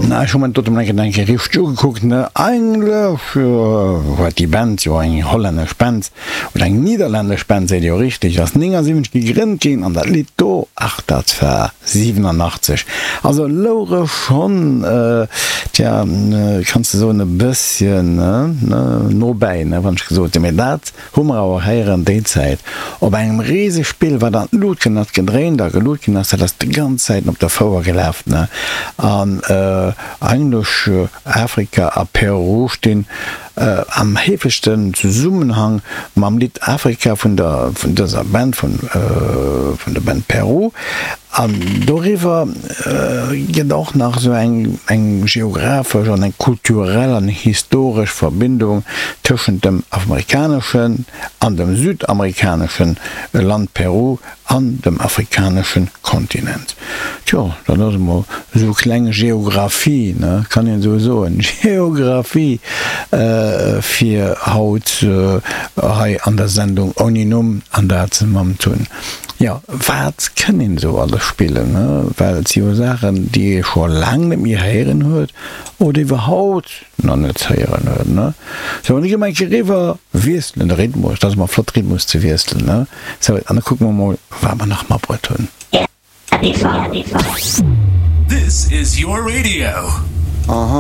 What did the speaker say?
Na, ech hu mer dat do mol eng Kéier richteg ugekuckt, ne. Eigentlech huet déi Band, jo eng hollännesch Band, oder eng nidderlännesch Band seet ee jo richteg, ass 79 gegrënnt ginn an dat Lidd do, ach dat war 87. Also louch e schonn, tja, kanns de soen, e bësschen nobäi, ne, wann ech gesot hunn. Mee dat hu mer awer héieren déi Zäit op engem Risespill, wat an d'Lut ginn ass, gedréint a gelut ginn ass, dat ass déi ganz Zäiten op der Fouer gelaf, ne. An eigentlech Afrika a Peru stinn am heefegsten Zesummenhang mam Lidd Afrika vun der vun dëser Band, vun vun der Band Peru. An doriwwer gëtt och nach esou eng eng geographesch an eng kulturell an historesch Verbindung tëschent dem amerikaneschen an dem südamerikanesche Land Peru an dem afrikanesche Kontinent. Tjo, dat ass emol esou kleng Geographie, ne, kann een esou soen, Geographie fir haut hei an der Sendung ouni Numm, an dat mam Tun. Jo, wat kënn een esou alles spillen, ne, well et si jo Saachen, déi ee scho laang net méi héieren huet oder iwwerhaut nach net héieren huet, ne. Sou, an da gi mer eng Kéier eriwwer, wiesselen de Rhythmus, dat ass ëmmer flott, Rhythmus ze wiesselen, ne. Sou, an da kucke mer mol, wat mer nach matbruet hunn. This is your radio.